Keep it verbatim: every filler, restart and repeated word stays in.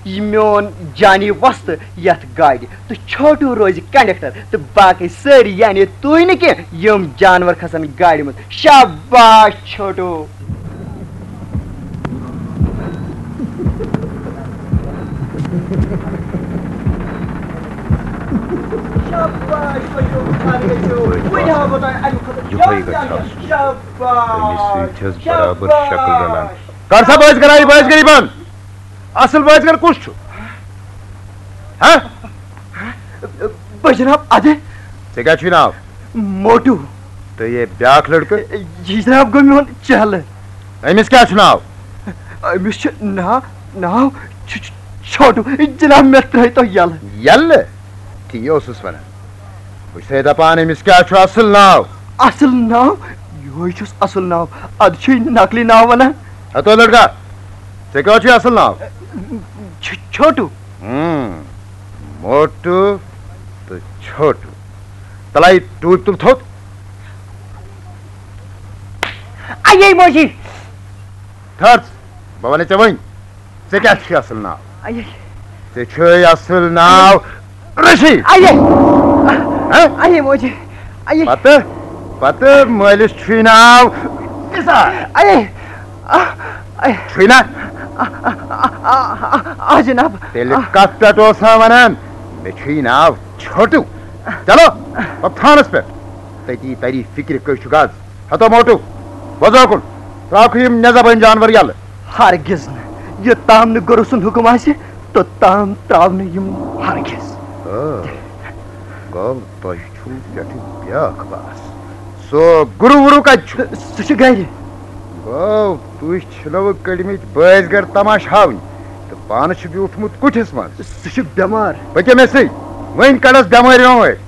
یہِ میون جانی وۄستہٕ یتھ گاڑِ، تہٕ چھوٹوٗ روزِ کنڈکٹر، تہٕ باقٕے سٲری، یعنی تُہۍ نہٕ کینٛہہ، یِم جانور کھسن گاڑِ منٛز۔ شاباش چھوٹوٗ۔ شاباش چھوٹوٗ، خان گٔژھِو۔ وۄنۍ ہاوو بہٕ تۄہہِ اَمہِ کھۄتہٕ یِہوٚے زیادٕ گژھِ جان۔ آسُن۔ شاباش۔ أمِس سۭتۍ چھَس برابر شاباش۔ شکل رلان۔ کر سا بٲزۍ گَر، یہِ بٲزۍ گَر یہِ بنٛد۔ اصل بٲزۍ گَر کُس چھُ؟ ہہ؟ بہٕ جناب ادٕ۔ ژےٚ کیٛاہ چھُے ناو؟ موٹو۔ تہٕ یہِ بیٛاکھ لڑکہٕ؟ یہِ جناب گوٚو میون چہلہٕ۔ أمِس کیٛاہ چھُ ناو؟ أمِس چھُ ناو، ناو چھُ، چھُ چھوٹو۔ جناب مےٚ ترٛٲے تو یَلہٕ۔ یَلہٕ؟ تی اوسُس وَنان۔ بہٕ چھُسے دَپان أمِس کیٛاہ چھُ اصل ناو؟ اصل ناو؟ یِہوٚے چھُس اصل ناو۔ اَدٕ چھُے نقلی ناو وَنان۔ ہتو لڑکا، ژےٚ کیٛاہ چھُے اصل ناو؟ چھُ، چھوٹو۔ ہم، موٹو تہٕ چھوٹو۔ تلے ٹوپۍ تُل تھوٚد۔ اَیے موجی۔ تھٔر ژٕ، بہٕ وَنے ژےٚ وۄنۍ، ژےٚ کیٛاہ چھُے اصل ناو؟ اَیے۔ ژےٚ چھُے اصل ناو رشی۔ اَیے۔ ہہ؟ اَیے موجی۔ اَیے۔ پتہٕ، پتہٕ مٲلِس چھُے ناو نثار۔ اَیے۔ آ، اَیے۔ چھُے نا؟ آ، آ، آ، آ، آ، جناب۔ تیٚلہِ آ۔ کتھ پٮ۪ٹھ اوس ہا ونان، مےٚ چھُے ناو چھوٹو۔ چلو، پتہٕ تھانس پٮ۪ٹھ۔ تٔتی تری فکرِ کٔہۍ چھُ گز۔ ہتو موٹو، وۄزو کُن، تراوکھ یِم نٮ۪زبٲنۍ جانور یلہٕ۔ ہرگز نہٕ۔ یوٚتام نہٕ گُرو سُنٛد حُکم آسہِ، توٚتام تراو نہٕ یِم ہرگز۔ آ، گوٚو تۄہہِ چھُو پٮ۪ٹھٕ بیٛاکھ باس۔ سُہ گُرو وُرو کتہِ چھُ؟ سُہ چھُ گرِ۔ گوٚو تُہۍ چھِنو کٔڑمٕتۍ بٲزۍ گرٕ تماشہٕ ہاوٕنۍ تہٕ پانہٕ چھُ بیوٗٹھمُت کُٹھِس منٛز۔ سُہ چھُ بٮ۪مار۔ پٔکِو مےٚ سۭتۍ، وۄنۍ کڑس بٮ۪مٲرۍ وٮ۪مٲرۍ۔